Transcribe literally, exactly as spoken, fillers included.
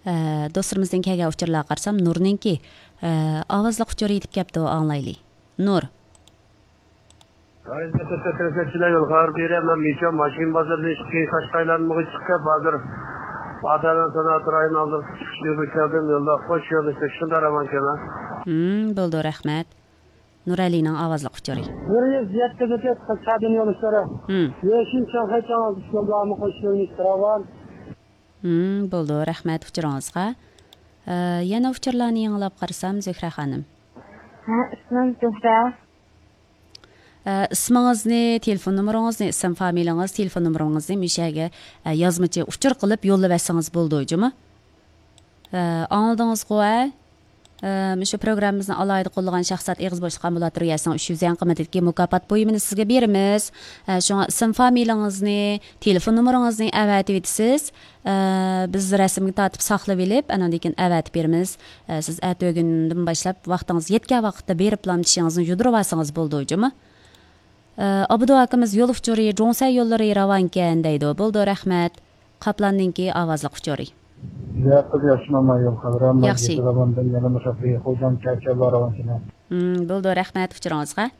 ئە، دوستلىرىمىزدىن كەلگەن ئۇچۇرلارغا قارىسام، نۇرنىڭكى، ئە، ئاۋازلىق ئۇچۇرى يېتىپ كەپتۇ، ئاڭلايلى. نۇر. ھاي، تۆتەكچىلەر يول خەۋەر بېرە، مەن مىشا ماشىنا بازىرىدىن ئىككى قاشقا ئايلانمىغا چىقىپ كەپ، ھازىر ئادەمنىڭ سانائەت رايونى ئالدىغا چىقىش يولىغا كەلدىم، يولدا خوش يولدا چىقىشىڭدا رامان كەلمە. ھىم، بولدى، رەھمەت. نۇرئەلىنىڭ ئاۋازلىق ئۇچۇرى. بىر يۈز يەتتە بېكەت قىزچادىن يول ئىشلىرى. ھىم. يېشىل چاڭخەي چاڭ ئىش يوللارمۇ خوش يولنى ئىشلىرى بار. ھىم، بولدى، رەھمەت ئۇچۇرىڭىزغا. ئە، يەنە ئۇچۇرلارنى يېڭىلاپ قارىسام، زۆھرە خانىم. ھە، ئىسمىم زۆھرە. ئە، ئىسمىڭىزنى، تېلېفون نومۇرىڭىزنى، ئىسىم فامىلىڭىز، تېلېفون نومۇرىڭىزنى مۇشۇ يەرگە، ئە، يازمىچە ئۇچۇر قىلىپ يوللىۋەتسىڭىز بولىدۇ، جۇمۇ. ئە، ئاڭلىدىڭىزغۇ، ھە؟ ئە، مۇشۇ پروگراممىمىزنى ئالاھىدە قوللىغان شەخسلەر ئېغىز بوشلۇق ئامبۇلاتورىيەسىنىڭ ئۈچ يۈز يۈەن قىممىتىدىكى مۇكاپات بۇيۇمىنى سىزگە بېرىمىز. ئە، شۇڭا ئىسىم فامىلىڭىزنى، تېلېفون نومۇرىڭىزنى ئەۋەتىۋېتىسىز. ئە، بىز رەسىمگە تارتىپ ساقلىۋېلىپ، ئاناندىن كېيىن ئەۋەتىپ بېرىمىز. ئە، سىز ئەتىگۈندىن باشلاپ ۋاقتىڭىز يەتكەن ۋاقىتتا بېرىپلا چىشىڭىزنى يۇدۇرۇۋالسىڭىز بولىدۇ، جۇمۇ. ئە، ئابدۇ ئاكىمىز يول ئۇچۇرى، جۇڭسەن يوللىرى راۋانكەن دەيدۇ. بولدى، رەھمەت. قاپلاندىنكى ئاۋازلىق ئۇچۇرى. يا قىز، ياخشىمۇ يول خەۋىرى؟ ياخشى. يېقىنلىرىمدىن يەنە مۇشۇ خوجام چەرچەنلار راۋانكەن. ھىم، بولدى، رەھمەت ئۇچۇرىڭىزغا.